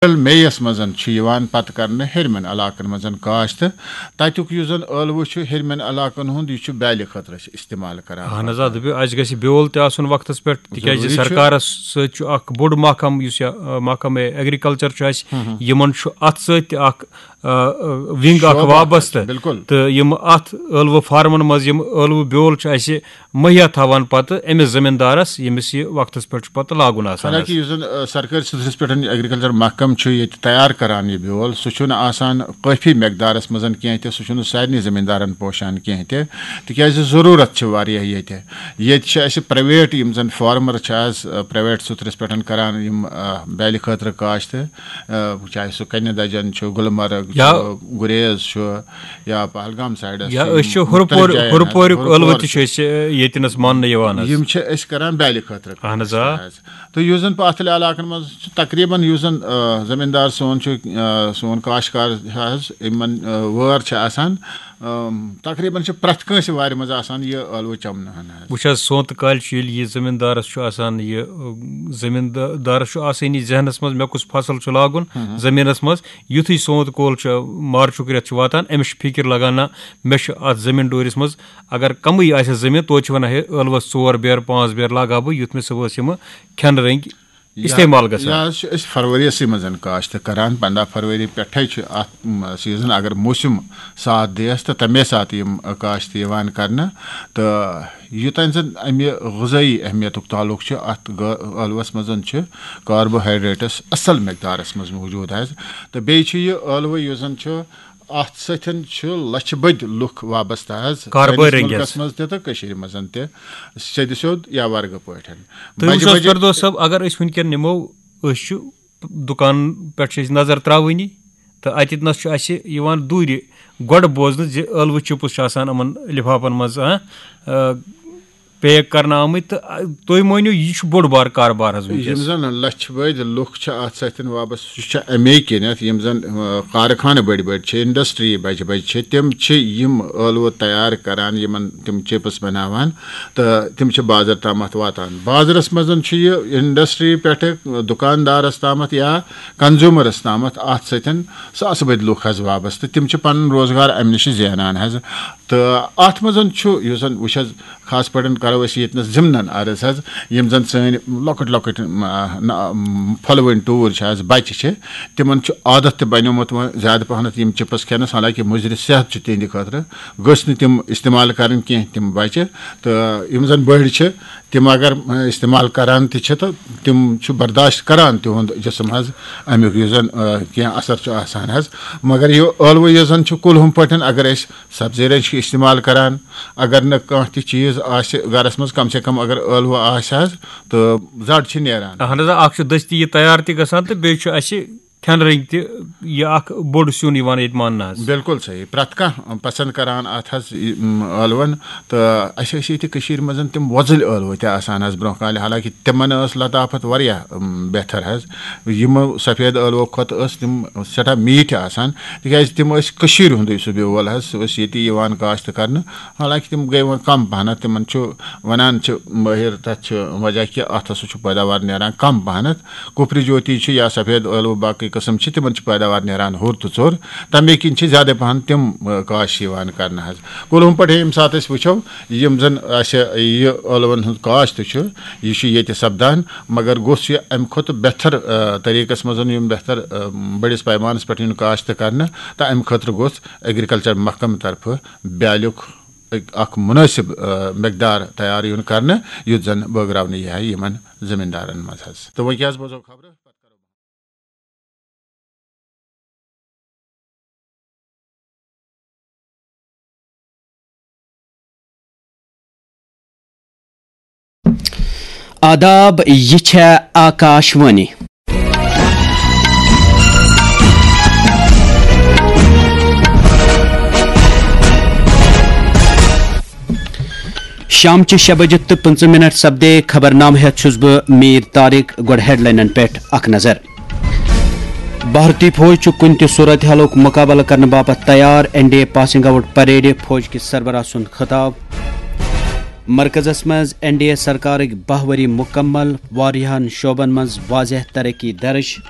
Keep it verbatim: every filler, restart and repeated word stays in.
April May یس منٛز چھُ یِوان پتہٕ کرنہٕ ہیٚرمٮ۪ن علاقن منٛز کاشت۔ تتیُک یُس زن ٲلوٕ چھُ ہیٚرمٮ۪ن علاقن ہُنٛد، یہِ چھُ بیلہِ خٲطرٕ أسۍ استعمال کران۔ اہن حظ، آ، دٔپِو، اَسہِ گژھِ بیول تہِ آسُن وقتس پٮ۪ٹھ، تِکیازِ ضروٗری چھُ۔ سرکارس سۭتۍ چھُ اکھ بوٚڑ محکمہٕ، یُس یہِ، آ، محکمہٕ ایگریکلچر چھُ اَسہِ، ہُم ہُم۔ یِمن چھُ اتھ سۭتۍ تہِ اکھ، آ، آ، ونگ اکھ شعبہٕ اکھ وابستہٕ۔ بِلکُل۔ تہٕ یِم اتھ ٲلوٕ فارمن منٛز یِم ٲلوٕ بیول چھُ اَسہِ مہیا تھاوان پتہٕ أمِس زٔمیٖندارَس، ییٚمِس یہِ وقتَس پٮ۪ٹھ چھُ پتہٕ لاگُن آسان حالانکہ حظ۔ یُس زَن، آ، سرکٲرۍ سطحس پٮ۪ٹھ ایگریکلچر محکمہٕ چھُ ییٚتہِ تیار کران یہِ بیول، سُہ چھُنہٕ آسان کٲفی مقدارَس منٛز کینٛہہ تہِ، سُہ چھُنہٕ سارنٕے زٔمیٖندارَن پوشان کینٛہہ تہِ، تِکیازِ ضروٗرت چھِ واریاہ ییٚتہِ۔ ییٚتہِ چھِ اَسہِ پرائیویٹ یِم زَن فارمر چھِ آز، آ، پرائیویٹ سطحس پٮ۪ٹھ کران یِم، آ، بیلہِ خٲطرٕ کاشت، آ، چاہے سُہ کنہِ دجن چھُ، گلمرگ یا چھُ، گریز چھُ، یا پہلگام سایڈس یا چھِ أسۍ چھِ یِم ہُرپور-، مُختٔلِف جایَن ہُرپوریُک حظ، ٲلوٕ ہُرپور تہِ چھِ چھِ۔ أسۍ، ییٚتہِ نَس ماننہٕ یِوان حظ۔ یِم چھِ أسۍ کران بیلہِ خٲطرٕ اہن حظ، آ۔ کاشت حظ۔ تہٕ یُس زَن پتھلہِ علاقن منٛز چھُ تقریباً یُس زَن، آ، زٔمیٖندار سون چھُ، آ، سون کاشتکار حظ، یِمن، آ، وٲر چھِ آسان، آ، تقریباً چھِ پرٛٮ۪تھ کٲنٛسہِ وارِ منٛز آسان یہِ ٲلوٕ چَمنہٕ ہن حظ۔ وٕچھ حظ، سونتہٕ کالہِ چھُ ییٚلہِ یہِ زٔمیٖندارَس چھُ آسان یہِ، آ، زٔمیٖندا-، دارَس چھُ آسٲنی ذہنَس منٛز مےٚ کُس فصل چھُ لاگُن ہُم۔ زٔمیٖنَس منٛز، یُتھُے سونتہٕ کول چھُ، مارچُک رٮ۪تھ چھُ واتان، أمِس چھِ فِکِر لگان، نہ، مےٚ چھُ اَتھ زٔمیٖن ڈوٗرِس منٛز، اگر کَمٕے آسہِ زٔمیٖن، توتہِ چھِ وَنان، ہے، ٲلوَس ژور بیرٕ، پانٛژھ بیرٕ لاگہٕ ہا بہٕ، یُتھ مےٚ صُبحَس یِمہٕ کھٮ۪نہٕ رٔنٛگۍ یہِ استعمال گژھان۔ یہِ حظ چھِ أسۍ فروریَسٕے منٛز کاشت کران، پنٛداہ فروری پٮ۪ٹھَے چھُ اَتھ، م، سیٖزن، اگر موسم ساتھ دِیَس تہٕ تَمے ساتہٕ یِم، ٲ، کاشت یِوان کرنہٕ۔ تہٕ یوٚتام زَن اَمہِ غذٲیی اہمیتُک تعلق چھُ، اَتھ گٲ-، ٲلوَس منٛز چھِ کاربوہائیڈریٹس اَصٕل مقدارَس منٛز موٗجوٗد حظ۔ تہٕ بیٚیہِ چھُ یہِ ٲلوٕ یُس زَن چھُ، اَتھ سۭتۍ چھُ لَچھِ بٔدۍ لُکھ وابستہٕ حظ، کاربٲرۍ سٲنِس رٔنٛگۍ حظ۔ مُلکَس منٛز تہِ تہٕ کٔشیٖرِ منٛز تہِ، سیٚدِ سیوٚد یا ورگہٕ پٲٹھۍ۔ تُہۍ بَجہِ وٕچھ حظ، بَجہِ فردوس صٲب، اگر أسۍ وٕنکیٚن نِمو، أسۍ چھِ دُکان پٮ۪ٹھ چھِ أسۍ نظر ترٛاوٲنی، تہٕ اَتٮ۪تھ نَس چھُ اَسہِ یِوان دوٗرِ گۄڈٕ بوزنہٕ زِ ٲلوٕ چِپٕس چھِ آسان یِمَن لِفافَن منٛز، ہاں، آ، پیک کرنہٕ آمٕتۍ، تہٕ، آ، تُہۍ مٲنِو، یہِ چھُ بوٚڑ بار کاربار حظ وٕنکیٚس۔ یِم زَن لَچھِ بٔدۍ لُکھ چھِ اَتھ سۭتۍ وابستہٕ، سُہ چھُ اَمے کِنٮ۪تھ، یِم زَن، آ، کارخانہٕ بٔڑۍ بٔڑۍ چھِ، انڈسٹری بَجہِ بَجہِ چھِ، تِم چھِ یِم ٲلوٕ تیار کران، یِمَن تِم چِپٕس بَناوان، تہٕ تِم چھِ بازر تامَتھ واتان۔ بازرَس منٛز چھُ یہِ انڈسٹری پٮ۪ٹھٕ دُکاندارَس تامَتھ یا کنزیوٗمرَس تامَتھ اَتھ سۭتۍ ساسہٕ بٔدۍ لُکھ حظ وابستہٕ۔ تِم چھِ پَنُن روزگار اَمہِ نِش زینان حظ۔ تہٕ اَتھ منٛز چھُ، یُس زَن وٕچھ حظ، خاص پٲٹھۍ کَرو أسۍ ییٚتہِ نَس ضِمنَن عرض حظ، یِم زَن سٲنۍ لۄکٕٹۍ لۄکٕٹۍ، م، نہ، م، پھۄلوٕنۍ ٹوٗرۍ چھِ حظ، بَچہِ چھِ، تِمَن چھُ عادت تہِ بَنیومُت وۄنۍ زیادٕ پَہنَتھ یِم چِپٕس کھٮ۪نَس، حالانکہ مُضرِ صحت چھُ تِہِنٛدِ خٲطرٕ، گٔژھ نہٕ تِم استعمال کَرٕنۍ کینٛہہ تِم بَچہِ۔ تہٕ یِم زَن بٔڑۍ چھِ، تِم اگر، م، استعمال کَران تہِ چھِ، تہٕ تِم چھِ برداشت کَران تِہُنٛد جسم حظ اَمیُک، یُس زَن، آ، کینٛہہ اثر چھُ آسان حظ۔ مگر یہِ ٲلوٕ یُس زَن چھُ کُلہُم پٲٹھۍ، اگر أسۍ سبزی رٔنٛگۍ چھِ استعمال کَران، اگر نہٕ کانٛہہ تہِ چیٖز آسہِ گَرَس منٛز، کم سے کم اگر ٲلوٕ آسہِ حظ، تہٕ زَڈ چھِ نیران۔ اہن حظ، اَکھ چھُ دٔستی یہِ تیار تہِ گژھان، تہٕ بیٚیہِ چھُ اَسہِ کھٮ۪نہٕ رٔنٛگۍ تہِ یہِ اکھ بوٚڑ سیُن یِوان ییٚتہِ ماننہٕ حظ۔ بِلکُل صحیح۔ پرٛٮ۪تھ کانٛہہ پسنٛد کران اَتھ حظ، یہِ، م، ٲلوَن۔ تہٕ اَسہِ ٲسۍ ییٚتہِ کٔشیٖرِ منٛز تِم وۄزٕلۍ ٲلوٕ تہِ آسان حظ برٛونٛہہ کالہِ، حالانکہِ تِمن ٲس لطافت واریاہ، م، بہتر حظ۔ یِمو سفید ٲلوو کھۄتہٕ ٲس تِم سٮ۪ٹھاہ میٖٹھۍ آسان، تِکیٛازِ تِم ٲسۍ کٔشیٖرِ ہُنٛدُے سُہ بیول حظ، سُہ اوس ییٚتی یِوان کاشت کرنہٕ۔ حالانکہِ تِم گٔے وۄنۍ کم پہنتھ، تِمن چھُ وَنان چھِ مٲہِر، تَتھ چھُ وجہ کہِ اَتھ ہسا چھُ پیداوار نیران کم پہنتھ۔ کُپرِ جوتی چھُ یا سفید ٲلوٕ باقٕے قٕسم چھِ، تِمن چھِ پیداوار نیران ہُر تہٕ ژوٚر، تَمے کِنۍ چھِ زیادَے پَہَن تِم، آ، کاشت یِوان کرنہٕ حظ۔ کُلہُم پٲٹھۍ ییٚمہِ ساتہٕ أسۍ وٕچھو، یِم زَن اَسہِ یہِ ٲلوَن ہُنٛد کاشت چھُ، یہِ چھُ ییٚتہِ سَپدان، مگر گوٚژھ یہِ اَمہِ کھۄتہٕ بہتر، آ، طریٖقَس منٛز یُن، بہتر، آ، بٔڑِس پیمانَس پٮ۪ٹھ یُن کاشت کرنہٕ، تہٕ اَمہِ خٲطرٕ گوٚژھ ایگریکلچر محکمہٕ طرفہٕ بیٛالیُک اکھ مُنٲسِب، آ، مقدار تیار یُن کرنہٕ، یُتھ زَن بٲگراونہٕ یی ہا یِمن زٔمیٖندارَن منٛز حظ۔ تہٕ وۄنۍ کیٛاہ حظ بوزو خبرٕ؟ آداب، یہِ چھےٚ آکاش وانی۔ شامچہِ شےٚ بجہِ تہٕ پٕنٛژٕہ منٹ سپدے خبرنامہٕ ہٮ۪تھ چھُس بہٕ میٖر طارق۔ گۄڈٕ ہیڈلاینن پٮ۪ٹھ اکھ نظر۔ بھارتی فوج چھُ کُنہِ تہِ صورتحالُک مُقابلہٕ کرنہٕ باپتھ تیار، N D A passing out parade, فوج کِس سربراہ سُنٛد خطاب۔ مرکزس منٛز این ڈی اے سرکارٕکۍ باہ ؤری مُکمل، واریاہن شعبن منٛز واضح ترقی درٕج۔